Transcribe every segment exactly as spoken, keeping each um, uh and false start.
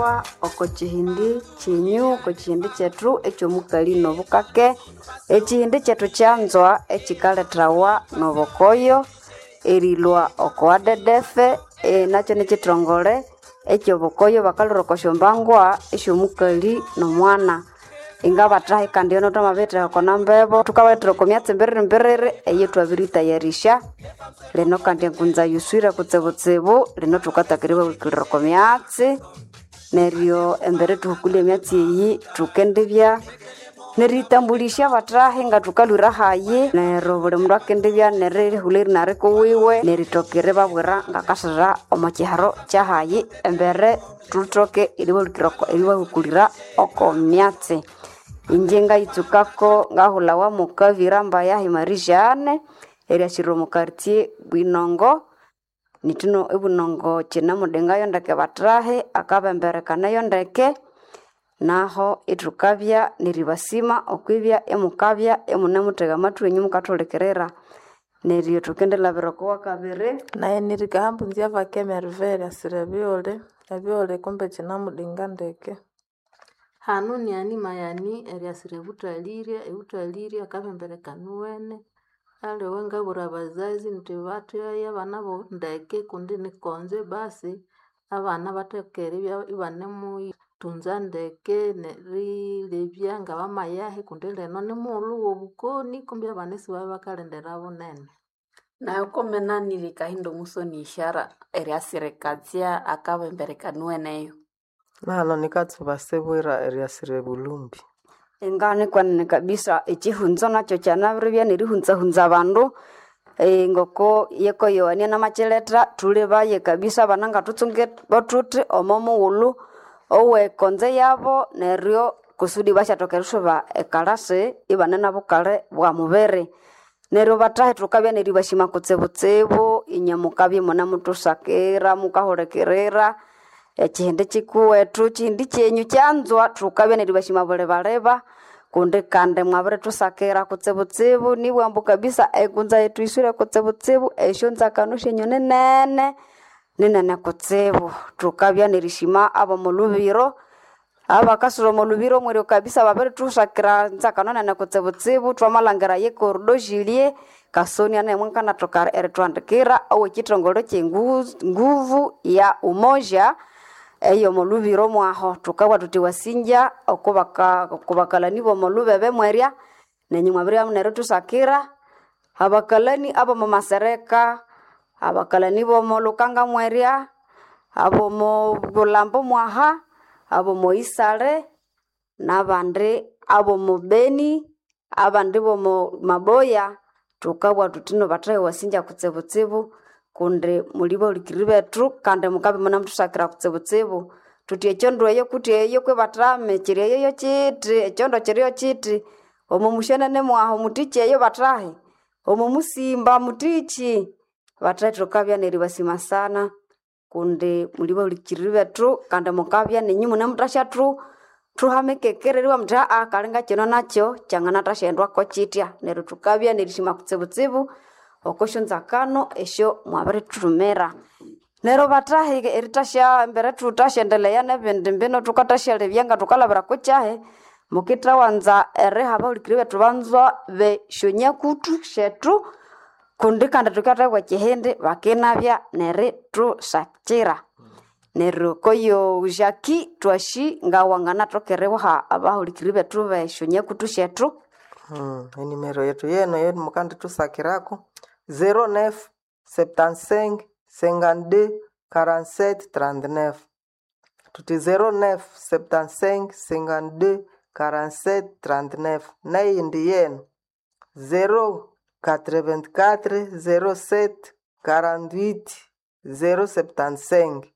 Oko kihindi kyenyu oko kihindi kyethu ekyomukali nobukake ekihindi kyethu kyanzwa ekikaletawa nobukoyo erilhwa oko A D D F nakyo nikithongole ekyobukoyo bakalhwira oko syombangwa esyomukali nomwana. Ingabathahi kandi eno thwamabiritheka oko namba ebo thukabalethera oko myatsi mbiriri mbiriri eyithwabiritayarisya. Lino kandi engunza yiswire kutsibutsibu lino thukatsaka eribahulukirira oko myatsi neryo embere thuhukulye emyatsi eyi thukendibya neriyitambulisya abathahi ngathukalhwira hayi neryo buli mundu akendibya nerihulha erina rikuwiwe nerithoka eribabwira ngakasira omo kiharo kyahayi embere thuthoke eribahulukira eribahukulira oko myatsi. Inje ngayitsukako ngahulhawa mukabira mbayahi Marie Jeanne eriasirira omo quartier Bwinongo nithino ebwinongo kyinemudengayo ndeke bathahi akabemberekanayo ndeke naho ithukabya neribasima okwibya imukabya imunemuthega amathwi wenyu mukathuhulikirira neryo thukendilhabira oko wakabiri. Nayi nirikahambu nzyavake Merveille asire ebyoli, ebyoli kumbe kyinamudenga ndeke. Hanu ni Mayani eriasira ebuthalirye, ebuthalirye akabembereka niwene. Aliwe ngabwira abazazi indi batheghaye abana babo ndeke kundi nikonzo basi abana bathoke eribya ibanemuthunza ndeke nerilebya ngabamayahi kundi lino nimughulhu wobukoni kumbi abana isibabya bakalindira bunene. Nayo komenanire Kahindo Musoni Ishara eriasira ekatsya akabembereka niweneyo. Nahano nikatsuba sebwira eriasira ebulumbi. Ingane kwenene kabisa ekihunzo nakyo kyanabiribya nerihunzahunza abandu eh, ngoko yekoyowania namakiletha thulebaye kabisa abana ngathuntsunge thuthi omo mughulhu owekonzo yabo neryo kusudi basyathoka erisuba ekalasi ibane nabukali bwa mubiri. Neryo bathahi thukabya neribashima kutsibutsibu inywe mukabya imunemuthusakira mukahulikirira ekihindi kikuwethu kihindi kyenyu kyanzwa thukabya neribashima bulibaleba kundi kandi mwabirithusakira kutsibutsibu nibugha ambu kabisa engunza yethu yiswire kutsibutsibu esyonzakano syenyu ninene ninene kutsibu. Thukabya nerishima abomolhubiro abakasira omolhubiro mweryo kabisa babirithusakira nzakano nene kutsibutsibu thwamalhangira yekordo Julie Kasonia naye mwakanathoka erithuhandikira owekithongole kyenguvu ya umoja eyomolhubiro mwaho. Thukabugha thuthi wasinja okubaka okubakalani bomolhubebe mwerya nenyu mwabiribya nerithusakira abakalani abomo masereka, abakalani bomo lukanga mwerya, abomo bulhambo mwaha, abomo isale, nabandi abomo Beni, abandi bomo Maboya thukabugha thuthi no bathahi wasinja kutsibutsibu kundi muli bahulikiriri bethu kandi mukabya imunemuthusakira kutsibutsibu. Thuthi ekyondo eyo kuti eyo kwibathame kiri eyo yokyiti ekyondo kiriyo kyiti omo musyenene mwahu muthiki eyo bathahi omo musimba muthiki. Bathahi thukabya neribasima sana kundi muli bahulikiriri bethu kandi mukabya ninyu munemuthasya thu thuhamikekera eribugha muthi aa kalinga kino nakyo kyanganathasyendwako kyitya neryo thukabya nerishima kutsibutsibu oko syonzakano esyo mwabirithumira. Neryo bathahi erithasya embere thuthasyendelea nebindi mbino thukathasyalyebya ngathukalhabira kukyahi mukithawanza eriha abahulikiriri bethu banzwa besyonyakutu syethu kundi kandi thukathahibwa ekihindi bakinabya nerithusakira. Neryo koyo Jackie twasi ngawanganathoka eribuha abahulikiriri bethu besyonyakutu syethu. Hmm, enimero yethu yeno eyo mukandithusakirako zero neuf septante-cinq cinquante-deux quarante-sept trente-neuf. Thuthi zero neuf septante-cinq cinquante-deux quarante-sept trente-neuf. Neyindi yeno zero quatre-vingt-quatre zero sept quarante-huit zero septante-cinq.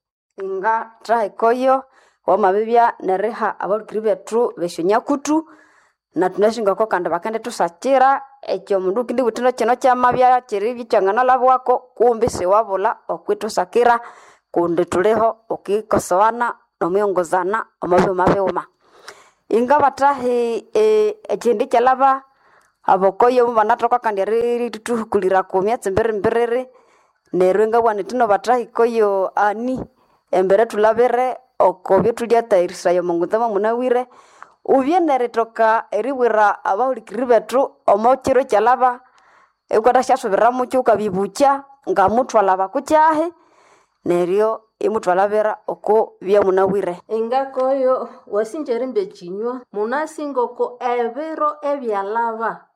Ingathaha ekoyo wamabibya neriha abahulikiriri bethu besyonyakutu nathunasi ngoko kandi bakendithusakira ekyomundu wukendibugha wuthi kino kyamabya kyiribya kyanganalhabwako kumbi siwabulha okwithusakira kundi thuliho okwikosowana nomwiyongozana omo bighuma bighuma. Ingabathahi ekihindi kyalhaba abokoyo mubanathoka kandi erithuhukulira oko myatsi mbiriri mbiriri neryo ingabugha indi no bathahi koyo ani embere thulhabire. oko byothulyatayirisaya omo munawire ubye neritoka eribwira abahulikiriri bethu omo kiro kyalaba iwukathasyasubira mukyo wukabibukya ngamuthwalaba kukyahi neryo imuthwalabira oko byamunawire. Ingakoyo wasinja erimba ekinywa munasi ngoko ebiro ebyalaba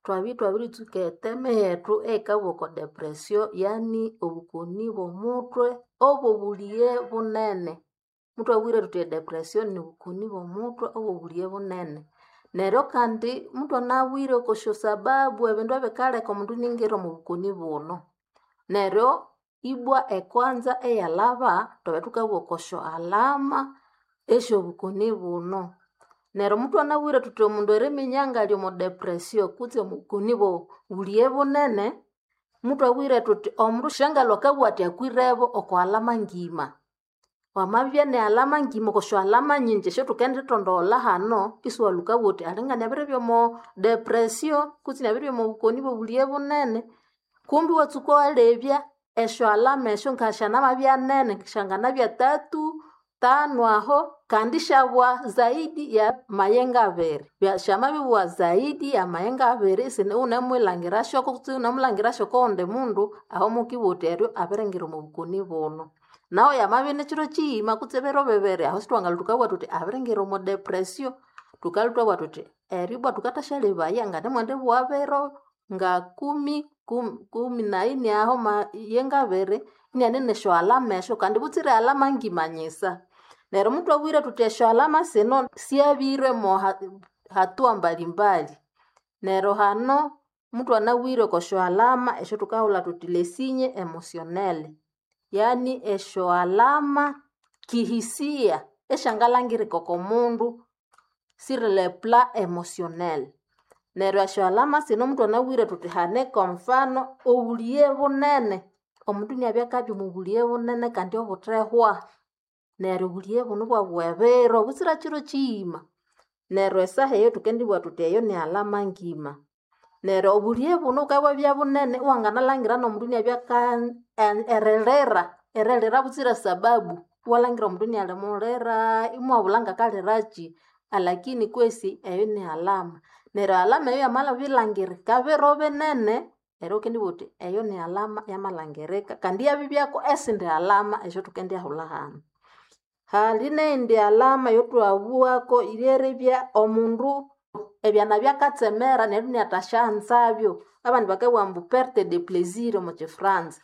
twabya itwabiritsuka eteme yethu eyikabugha oko depression yani obukoni bw'omuthwe obw'obulighe bunene. Muthwabwire thuthi edepression nibukoni bw'omuthwe obw'obulighe bunene. Neryo kandi muthwanabwire oko syosababu ebindu ebikaleka omundu iningira omo bukoni buno. Neryo ibwa ekwanza eyalhaba thwabya thukabugha oko syo alama esyobukoni buno. Neryo muthwanabwire thuthi omundu eriminya ngali omo depression kutse omubukoni bw'obulighe bunene, muthwabwire thuthi omundu syangalhwa akabugha athi akwirebo oko alama ngima. Wamabya ne alama ngima oko syo alama nyingi esyathukendithondogholha hano, isiwalhwa wukabugha wuthi alinga inabiribya omo depression kutse inabiribya omo bukoni bw'obulighe bunene. Kumbi iwatsuka iwalebya esyo alama esyo ngasyanamabya nene, syanganabya tatu, tanu aho kandi isyabwa zaidi ya mayenga abiri. Syamabibugha zaidi ya mayenga abiri isine iwunemwilhangirasyoko kutse iwunemulhangirasyoko okowundi mundu, aho mukibugha wuthi eryo abiringira omo bukoni buno. Nahu yamabya ini kiro kiyima kutse ebiro bibiri aho sithwangalhwa thukabugha thuthi abiringira omo depression. Thukalhwa ithwabugha thuthi eryo ibwa thukathasyalemaya nganimwendibugha biro ngakumi, kumi naini aho mayenga abiri iniane nesyo alama esyo kandi butsire alama ngima nyisa. Neryo muthwabwire thuthi esyo alama sino syabirwe mo hatua mbalimbali. Neryo hano muthwanabwire oko syo alama esyathukahulha thuthi les signes emotionnels, yani esyo alama kihisia esyangalhangirika oko mundu sur le plan emotionnel. Neryo esyo alama sino muthwanabwire thuthi hane kwa mfano obulighe bunene, omundu iniabya akabya omo bulighe bunene kandi obuthehwa. Neryo obulighe buno ibwabugha ebiro butsira kiro kiyima. Neryo esaha eyo thukendibugha thuthi eyo ni alama ngima. Neryo obulighe buno bukabya ibwabya bunene iwanganalhangira n'omundu iniabya aka erilira, erilira butsira sababu. Iwalhangira omundu inialimulira imuwabulha ngakaliraki alakini kwesi eyo ni alama. Neryo alama eyo yamabyabilhangirika biro binene, neryo wukendibugha wuthi eyo ni alama yamalhangirika kandi iyabyabyako esindi alama esyathukendiyahulha hano. Hali neyindi alama eyathwabugha lyeribya omundu ebyana byakatsemera neryo iniathasyanzabyo. Abandi bakabugha ambu perte de plaisir omo kifranza.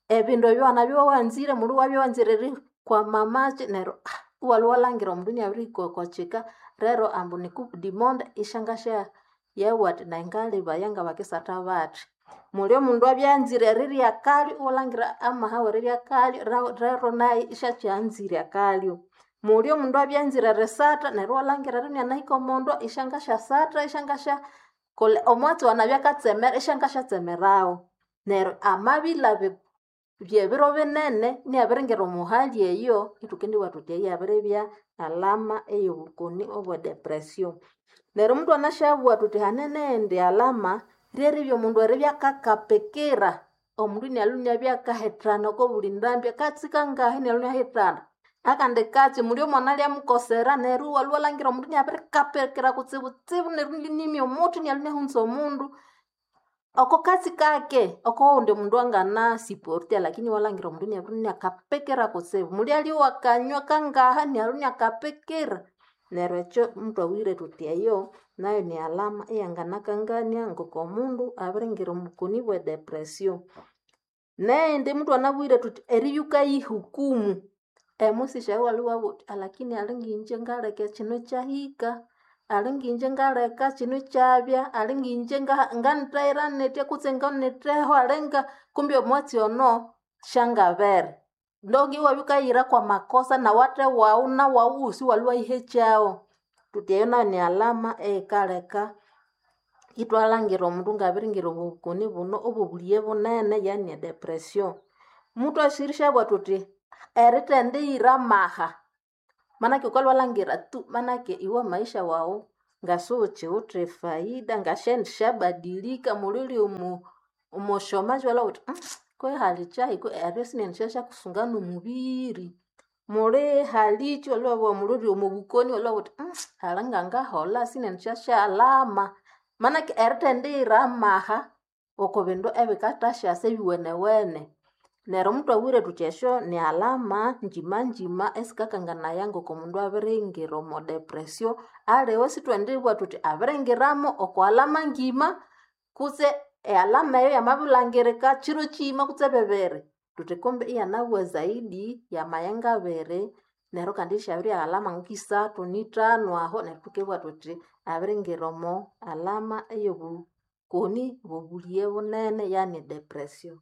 Ebindu ebyo wanabya iwawanzire mundu iwabya iwanzire erikwama amaki neryo iwalhwa iwalhangira omundu iniabirihika oko kika rero ambu ni coupe du monde isyangasya yabugha athi nayi ngalebaya ngabakisatha bathi. Muli omundu abya anzire erirya akalyo iwalhangira amaha w'erirya akalyo rero nayu isyakyanzire akalyo. Muli omundu abya anzire erisatha neryo iwalhangira eryo inianahika omondo isyangasyasatha isyangasya kolha omwatsi owanabya akatsemera isyangasyatsemerawo. Neryo amabilaba by'ebiro binene iniabiringira omo hali eyo, ithukendibugha thuthi eyo yabiribya alama ey'obukoni obwe depression. Neryo muthwanasyabugha thuthi hane neghindi alama lyeribya omundu eribya akakapikira, omundu inialhwa iniabya akahithana oko buli ndambi akatsi kangahi inialhwa iniahithana. Akandi katsi muli omwana alyamukosera neryo iwalhwa iwalhangira omundu iniabirikapikira kutsibutsibu neryo inimya omuthi inialhwa iniahunza omundu. Oko katsi kake okowundi mundu angana siporte lakini iwalhangira omundu iniabiribya iniakapikira kutsibu. Muli alyowa akanywa kangaha inialhwa iniakapikira. Neryo ekyo muthwabwire thuthi eyo nayo ni alama eyanganakangania ngoko omundu abiringira omo bukoni bwe depression. Neyindi muthwanabwire thuthi eribya wukayihukumu, emusisya iwalhwa iwabugha wuthi alakini alinginje ngaleka ekino ikyahika, alinginje ngaleka kino ikyabya, alinginje nganithayira nithya kutse nganitheho alinga kumbe omwatsi ono syangabere. Ndonge iwabya wukayihira kwamakosa nawathe wawu nawawu wosi iwalhwa iwayihekyawo. Thuthi eyo nayo ni alama eyikaleka ithwalhangira omundu ngabiringira omo bukoni buno obw'obulighe bunene yani edepression. Muthwasirishyabugha thuthi erithendiyira amaha, manake wukalhwa iwalhangira tu manake iwe amaisha wawu ngasiwukyiwithe efaida ngasyendisyabadilika muli wuli omo omosyomaji iwalhwa iwabugha wuthi kwehi hali kyahi eryo sinendisyakusunga n'omubiri. Muli halichi walwa muluri omubukoni walwa uthi "Mm, alinga ngahola sinendisyasyalama manake erithendiyira amaha oko bindu ebikathasyasa ebiwenewene neryo muthwabwire thuthi esyo ni alama njimanjima esikakanganaya ngoko mundu abiringira omo depression aliwe sithwendibugha thuthi abiringiramo oko alama ngima kutse ealama eyo yamabilhangirika kiro kiyima kutse bibiri thuthi kumbe iyanabugha zaidi yamayenga abiri neryo kandi isyabirya alama nkisathu nithanu aho neryo thukibugha thuthi abiringira omo alama eyobukoni bwobuliye bunene yani depression.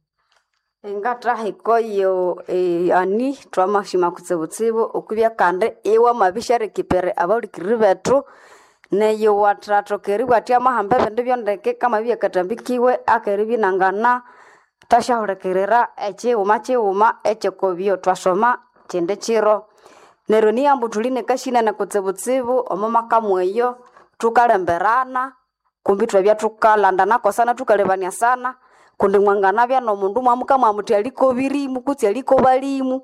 Ngatahikoyo eh, ani twamashima kutsibutsibu okwibya kandi iwamabisharekipere abahulikiriri bethu neyo wathathoka eribugha athi amahamba ebindu byondeke kamabibya katambikiwe akeribya inangana thasyahulikirira ekighuma kighuma ekyokobyo twasoma kindi kiro neryo niyambu thuli nekashinene kutsibutsibu omo maka mweyo thukalemberana kumbi ithwabya thukalandana kosana thukalebania sana kundi mwanganabya nomundu mwamuka mwamuthi alikobirimu kutse alikobalimu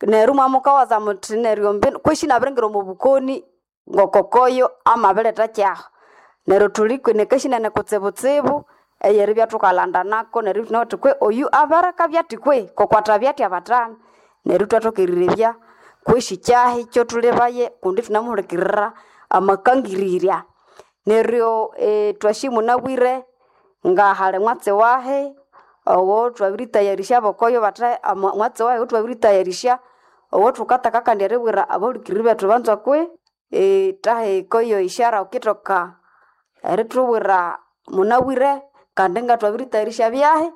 neryo mwamukawaza muthi neryo mbino kweshi inabiringira omo bukoni ngokokoyo amabiletha kyaho neryo thuli nekashinene kutsibutsibu eyeribya thukalandanako neryo thunawithe kwe oyu abarakabya athi kwe kokwathabya athi abathami neryo ithwathoka erirebya kweshi kyahi kyothulibaye kundi thunamuhulikirira amakangirirya neryo eh, twasi munabwire ngahali mwatsi wahi owo thwabiritayarisya abokoyo bathe ama- mwatsi wahi owuthwabiritayarisya owo thukataka kandi eribwira abahulikiriri bethu banzwa kwe eh, tahikoyo ishara wukithoka erithubwira munabwire kandi nga thwabiritayarisya byahi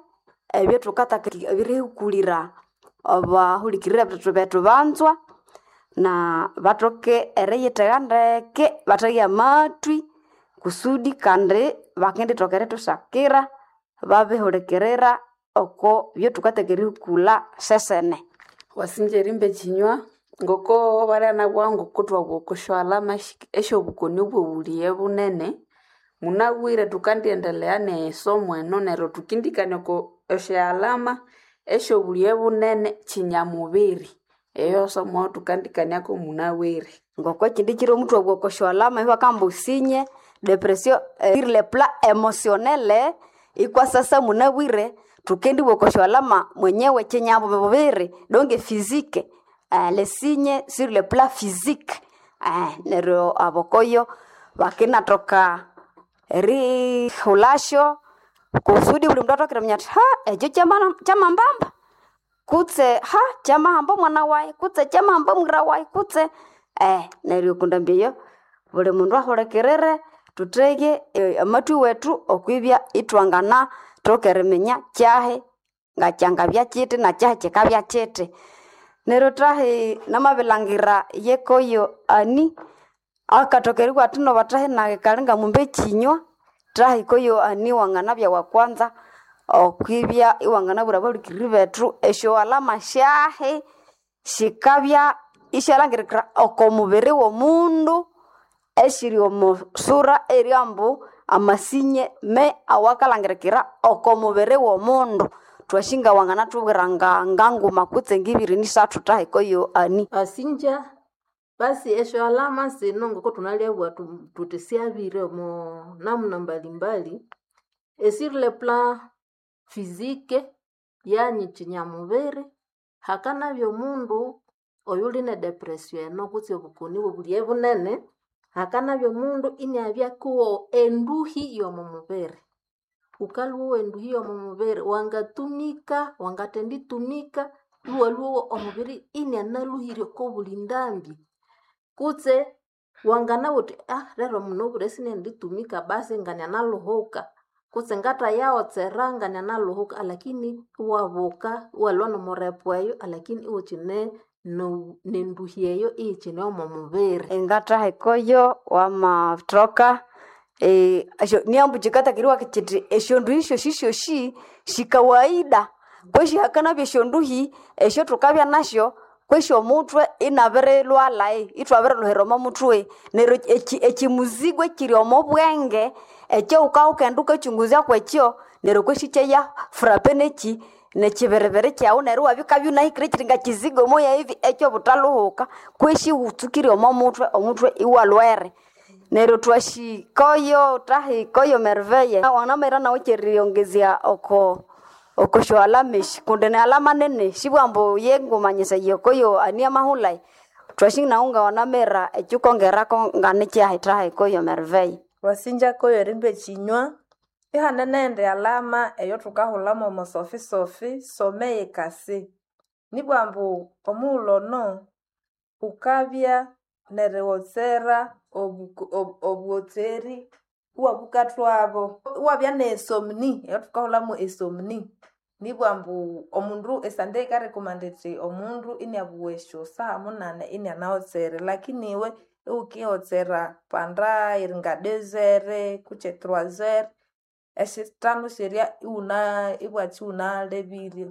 ebyo thukataka ebirihukulira abahulikiriri bethu bethu banzwa na bathoke eriyithega ndeke bathege amathwi kusudi kandi bakendithoka erithusakira babihulikirira oko byothukataka erihukulha sesene. Wasinja erimba ekinywa ngoko balyanabugha ngoko thwabugha oko syalama esyobukoni obwobuliye bunene munabwire thukandiendelea nesomo eno neryo thukindikania oko esyalama esyobuliye bunene kinyamubiri eyo somo thukandikaniako munabwire. Ngoko ekindi kiro omuthwabugha oko syalama ibakamba usinye depression eh, sur le plan emotionnel ikwasasa munabwire thukendibugha oko syalama mwenyewe kinyamubiri donc physique eh, le signe sur le plan physique eh, neryo abokoyo bakinathoka erihulasyo kusudi buli mundu athoke eriminya athi ha ekyo kyama- kyamambamba kutse ha kyamahamba omwana wayi kutse kyamahamba omwira wayi kutse eh, neryo okundambya eyo buli mundu ahulikirire thuthege eh, amathwi wethu okwibya ithwangana thoka eriminya kyahi ngakyangabya kyithi nakyahi kyikabya kyithi neryo thahi namabilhangira yekoyo ani akathoka eribugha athi noba thahi nayi kali ngamumba ekinywa thahi koyo ani wanganabya wakwanza okwibya iwanganabwira abahulikiriri bethu esyo alama syahi sikabya isyalhangirikira oko mubiri w'omundu esiri omo sura eryambu amasinye me awakalhangirikira oko mubiri w'omundu thwasinga wanganathubwira nga nganguma kutse ngibiri nisathu thahi koyo ani. Asinja basi esyo alama sino ngoko thunalyabugha thu- thuthi syabire omo namuna mbalimbali esur le plan physique yani kinyamubiri hakanabya omundu oyuli ne depression eno kutse obukoni bwobuliye bunene hakanabya omundu iniabya kuwo enduhi yomo mubiri wukalhwa enduhi yomo mubiri wangatumika wangathenditumika iwalhwa omubiri inianaluhire oko buli ndambi kutse wanganabugha wuthi ah lero munabwire sinenditumika basi nganianaluhuka kutse ngathayawotsera nganianaluhuka alakini iwabuka iwalhwa nomurepo eyo alakini iwukyine no- nenduhi eyo iyikyine omo mubiri. Ingatahikoyo wamathoka eh, esyo niambu kyikatakeriwa kyithi esyonduhi syosi syosi sikawaida kwesi hakanabya esyonduhi esyo thukabya nasyo kwesi omuthwe inabirilhwalha ithwabirilhuhira omo muthwe neryo eki- ekimuzigo ekiri omo bwenge ekyawuka wukaghenda wukakyunguzya kwekyo neryo kwesi kyeya frape neki Nechiberibere kyawu neryo iwabikabya unahikire kiri ngakizigo moya hivi ekyobuthaluhuka kweshi wutsukire omo mutwe omutwe iwalwere. Neryo twashikoyo thahikoyo Merveille wanamera nawe kyeriyongezya oko okosyo alama esi kundi ni alama nene sibwambu yengumanyisaya okoyo ani amahulhayi twasi nawu ngawanamera ekyukongerako nganikyahi thahikoyo Merveille. Wasinja koyo erimba ekinywa ihane nendi alama eyothukahulhamu omo sofi-sofi someye kasi nibwa ambu omughulhu ono wukabya neriwotsera obu- obu- obuwotseri iwabukathwabo iwabya ne somni eyothukahulhamu esomni nibwa ambu omundu esande yikarekomanda ithi omundu iniabuwa esyosaha munane inianawotsere lakini iwe iwukiwotsera panda eringa deux heures kutse trois heures esyithanu syerya iwuna ibwakya iwunalebirye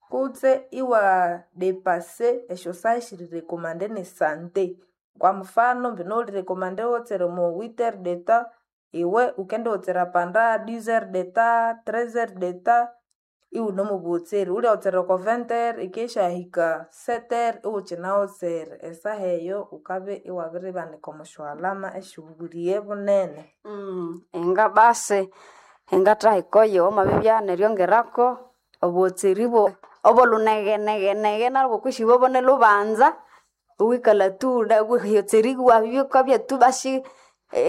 kutse iwa depase esyosaha esiri recommande nesante kwa mfano mbino wuli recommande iwotsera omo huit heures de temps iwe wukendiwotsera panda dix heures de temps treize heures de temps iwune omo buwotseri wulyawotsera oko vingt heures ikeshahika sept heures iwukyinawotsera esaha eyo wukabya iwabiribanika omo syalama esyobubuliye bunene. Mm, inga basi ingathahikoyo wamabibya neryongerako obuwotseri bwo obolhunegenegenege nalwo kwisi bwobo nilhubanza iwikalha tu yotseri wabya tu basi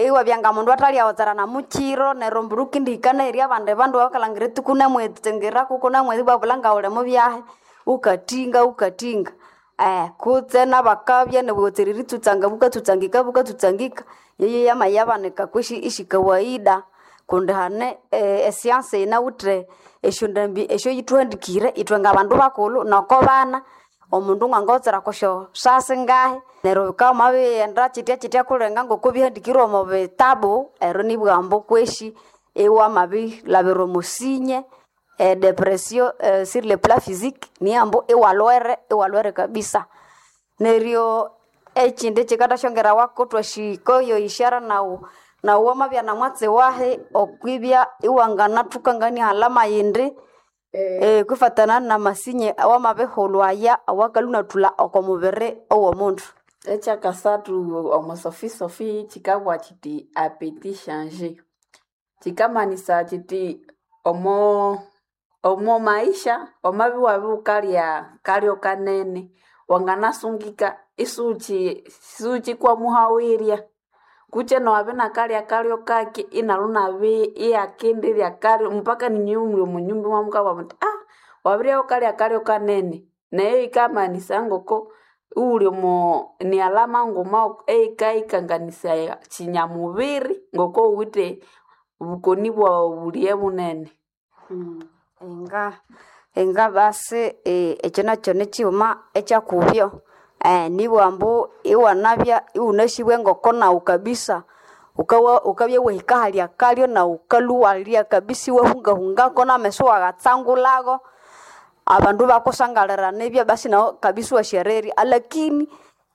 iwabya ngamundu athalyawotsera namukyiro neryo mbulho wukindihika nehirya abandi bandu abakalhangira eti kunamwetsengerako kunamwezi ibabulha ngawuli mubyahi wukatinga wukatinga eh kutse nabakabya nobuwotseri eritsutsanga bukatsutsangika bukatsutsangika yeyo yamayabanika kwisi isi kawaida kundi hane e science yinawithe esyondambi esyoyithuhandikire ithwe ngabandu bakulhu noko bana omundu ngangawotsera kusyo saha singahi neryo bikabya wamabighenda kyitya kulenga ngoko bihandikirwe omo bitabu ero nibugha ambu kweshi iwamabilhabira omo sinye e depression sur le plan physique niyo ambu iwalhwere iwalhwere kabisa. Neryo ekyindi ekyikathasyongerawako thwasikoyo ishara nawu nawu wamabya namwatsi wahi okwibya iwanganathukangania alama yindi eh kwifatana namasinye awamabihulhwa aya awakalhwa inathulha oko mubiri owomundu. Ekyakasathu omo sofi-sofi kyikabugha kyiti appétit changé. Kyikamanisa kyiti omo omo maisha wamabya iwabya wukalya kalyo kanene wanganasungika isuwukyi isuwukyikwamuhawirya kutse nowabya inakalya kalyo kaki inalhu inabya iyakendirya kalyo mpaka ninywe imuli omo nyumba imwamukabugha muthi ah wabiribya wukalya kalyo kanene neyo yikamanisa ngoko iwuli omo ni alama nguma eyikayikanganisaya kyinyamubiri ngoko wuwithe bukoni bwobulye bunene. Inga inga basi ekyo nakyo nikyighuma ekyakubyo nibugha ambu iwanabya iwunasibwe ngoko nawu kabisa wukawa wukabya wahika ahali akalyo nawu wukalhwa iwalya kabisa iwahungahungako nameso iwaghatsangulhago abandu ibakusangalira nibya basi nawu kabisa iwasyarirya alakini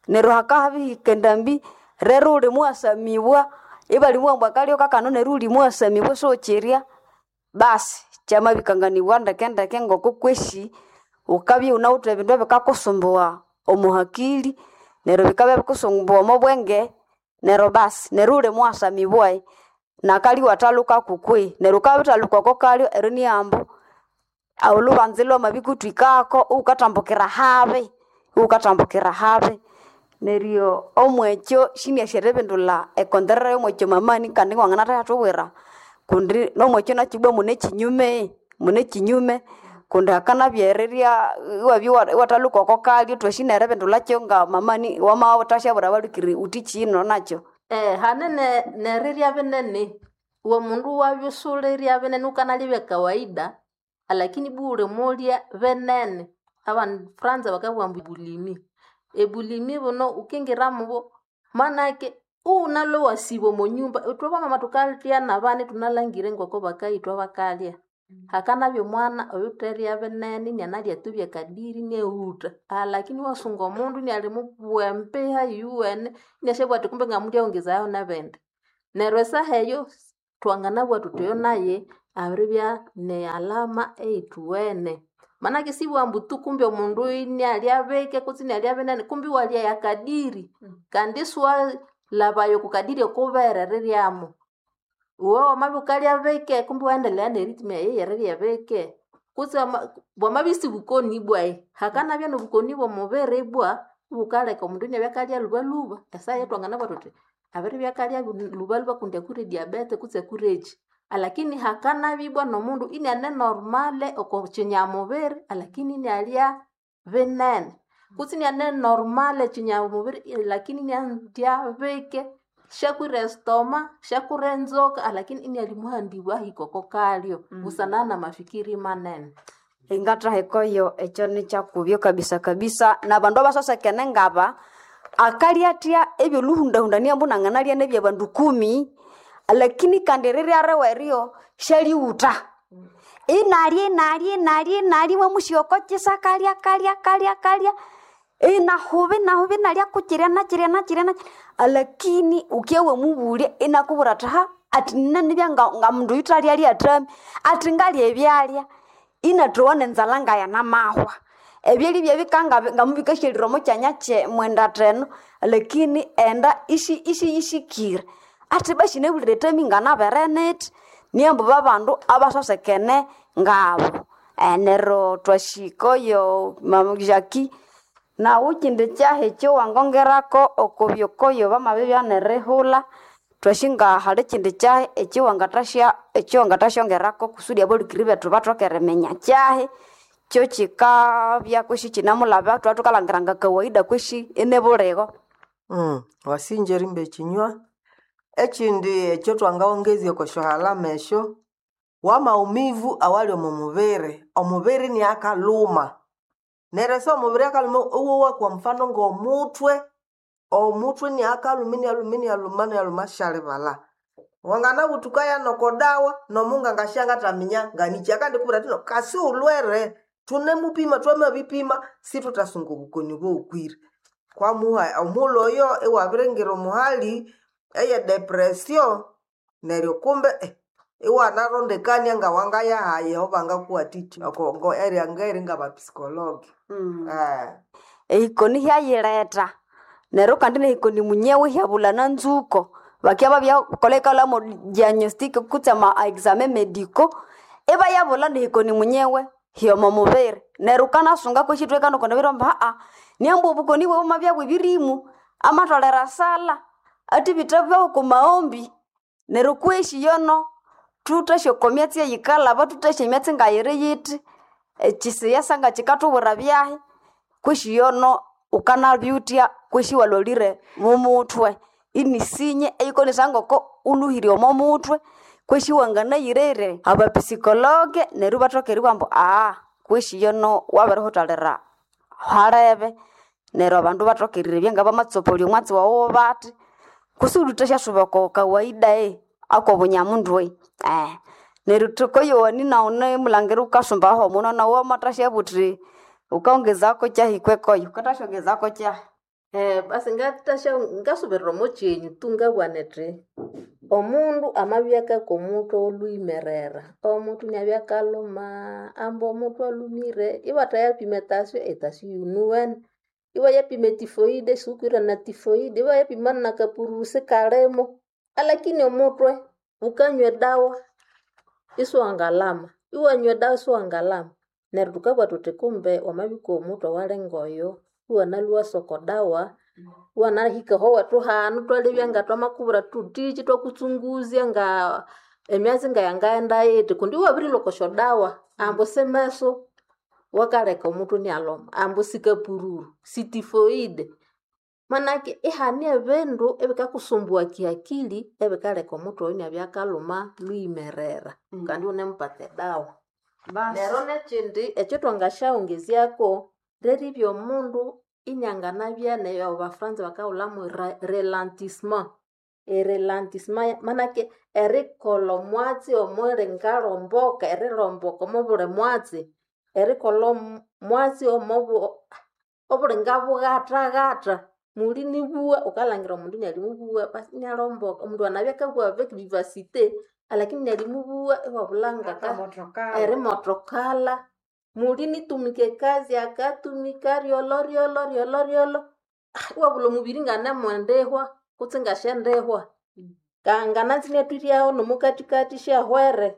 neryo hakabihika endambi rero wuli muwasamibwa ibalimubwira ambu akalyo kakano neryo wuli muwasamibwa isiwukyirya basi kyamabikanganibwa ndekendeke ngoko kwesi wukabya iwunawithe ebindu ebikakusumbuwa omo hakili neryo bikabya bikakusumbuwa omo bwenge neryo basi neryo wuli muwasamibwa nakalyo iwathalhukaku kwihi neryo wukabya wabithalhuka oko kalyo eryo niyo ambu olhubanza lwamabikuthwikako iwukathambukira habi iwukathambukira habi neryo omwekyo sinasi eribindulha ekonderera yomwekyo mamani kandi wanganathayathubwira kundi nomwekyo nakyo ibwa mune kyinyume mune kyinyume kundi hakanabya erirya iwabya iwathalhuka oko kalyo thwasi neribindulhakyo nga mamani wamawuthasyabwira abalhukiri wuthi kyino nakyo. Eh, hane ne nerirya binene iwe mundu wabya usulirya binene wukanalya ebya kawaida alakini ibwa wulimulya binene abandu Franza bakabugha ambu bulimi ebulimi buno wukingira mubo manake iwunalwe iwasiba omo nyumba ithwe bamama thukalya nabana ithunalhangire ngoko bakayithwa bakalya hakanabya omwana oyutherya binene inianalya tu byakadiri iniaghutha alakini iwasunga omundu iniali mubugha embiha iyuwene iniasyabugha athi kumbe ngamulyaghongezayaho nebindi neryo esaha eyo thwanganabugha thuthi oyo naye abiribya ne alama eyithuwene Manake sibwambu tu kumbe omundu inialya bike kutse inialya binene kumbe iwalya yakadiri kandi isiwalhabayo okukadiri okubere riryamo. Iwe wamabya wukalya bike kumbe iwaendelea nerithima eyo eyerirya bike kutse wama- bwamabya isibukoni bwayi hakanabya nobukoni bwomubiri ibwa ibukaleka omundu inabya akalya lhubalhuba esaha eyatwanganabugha thuthi abiribya akalya lhubalhuba kundi akwire diabete kutse akwire ekyi alakini hakanabya ibwa nomundu iniane normale oko kyinyamubiri alakini inialya binene kutse iniane normale kyinyamubiri lakini iniandya bike syakwire estoma syakwire enzoka alakini inialimuhandibwa ahika oko kalyo busana namafikiri manene. Ingathahikayo ekyo nikyakubyo kabisa kabisa nabandu abasosekene ngaba akalya athya ebyolhuhundahundania ambu nanganalya nebyabandu kumi lakini kandi rirya riwe eryo syalighutha inalya inalya inalya inalya iwamusigha oko kyisa kalya kalya kalya kalya inahuba inahuba inalya kukyirya nakyirya nakyirya nakyirya alakini ukye wamubulya inakubwira athi ha athi nina nga, nga mundu oyuthalyalya athami athi ngalya ebyalya inathowa nenzalha ngayanamahwa ebyalya byabikanga ngamubikasyalire omo kyanya kye mwenda theno lakini enda ishi ishiyisikire athi basi nabulire ethami nganabere nithi niambu babandu abasosekene ngabo Eh, neryo twahika oyo mama Jackie nawu kyindi kyahi ekyowangongerako okubyokoyo bamabibya nerihulha twasi nga hali kyindi kyahi ekyowangathasya ekyowangathasyongerako kusudi abalhukiri bethu bathoke eriminya kyahi kyo kyikabya kwesi kyinamulaba thwabya thukalhangira nga kawaida kwesi inibuligho. Mm, wasinja erimba ekinywa ekindi ekyo twangawongezya oko syohalama esyo wamaumivu awali omu mubiri omubiri niakalhuma neryo ese omubiri akalhuma iwowa kwa mfano ng'omuthwe omutwe niakalhuma inialhuma inialhuma inialhuma syalibalha wanganabuthukaya noko dawa nomunganga syangathaminya nganikyi akandikubwira athi no kasi wulhwere thunemupima twamabipima sithuthasunga obukoni bowukwire kwamuha omughulhu oyo iwabiringira omuhali eye depression neryo kumbe eh, iwanarondekania ngawangaya obangakuwathikya oko area ngeri ngabapsychologue Mm. eh. Ehikoni hyayiletha neryo kandi nehikoni munyewe hyabulha na nzuko bakya babyakolha ikalhamo diagnostic kutse ama examen medico ibayabulha nehikoni munyewe hyomo mubiri neryo wukanasunga kwesi ithwekana okwa nabiramba aa niambu obukoni bwawu bwamabya bwebirimu amatholere esala athibitha bwawu okwa maghombi neryo kwesi yono thuthasya okwa myatsi eyikalhaba thuthasya emyatsi ngayiri yithi ekyisiyasa ngakikathubwira byahi kwesi yono wukanabyuthya kwesi iwalholire mumuthwe inisinye eyikonesa ngoko ulhuhire omo muthwe kwesi wanganayirere abapsychologue neryo ibathoka eribugha ambu aa kwesi yono wabirihuthalira halebe neryo abandu bathoka erirebya ngabamatsopoliya omwatsi wawu bathi kusudi uthasyasuba oko kawaida e akobunyamundu e eh neryo thukoyowani nawu mulhangira wukasumbaho muno nawu wamathasyabugha uthi wukongezako kyahi kwekoyo wukathasyongezako kyahi Eh, basi ngathasya ngasubirira omo kyenyu tu ngabugha nithi omundu amabya akakwa omuthwe olhuyimerera omuthwe inabya akalhuma ambu omuthwe alhumire ibathayapima etasyo etasyo iyunuwene ibayapima etifoide siwukwire na tifoide ibayapima nakapururu sikalimo alakini omuthwe wukanywa edawa isiwangalhama iwanywa edawa isiwangalhama neryo thukabugha thuthi kumbe wamabikwa omuthwe awalinga oyo iwanalhwa iwasa oko dawa iwanahika aho wethu hanu thwalebya nga thwamakubwira thuthiki ithwakutsunguzya nga emyatsi ngayangaghenda yithi kundi iwabirilhwa oko syodawa ambu simeso wakaleka omuthwe inialhuma ambu sikapururu sitifoide manake ihane ebindu ebikakusumbugha kihakili ebikaleka omuthwe oyo inabya akalhuma lhuyimerera kandi iwunemupata edawa neryo nekyindi ekyithwangasyaghongezyako lyeribya omundu inianganabya neyo abafuranza bakahulhamu relantissement erelantissement manake erikolha omwatsi omulingalhomboka erilhomboka omobuli mwatsi erikolha omwatsi omobu obulinga-bughatha-ghatha muli nibugha wukalhangira omundu inialimubugha basi inialhomboka omundu anabya akabugha avec vivacité alakini inialimubugha iwabulha ngaka erimothokala Muli nitumika ekazi akatumika ryolo ryolo ryolo ryolo Ah, iwabula omubiri nganemwendihwa kutse ngashendihwa kangananzi inatwiryaho nomukathikathi syahwere.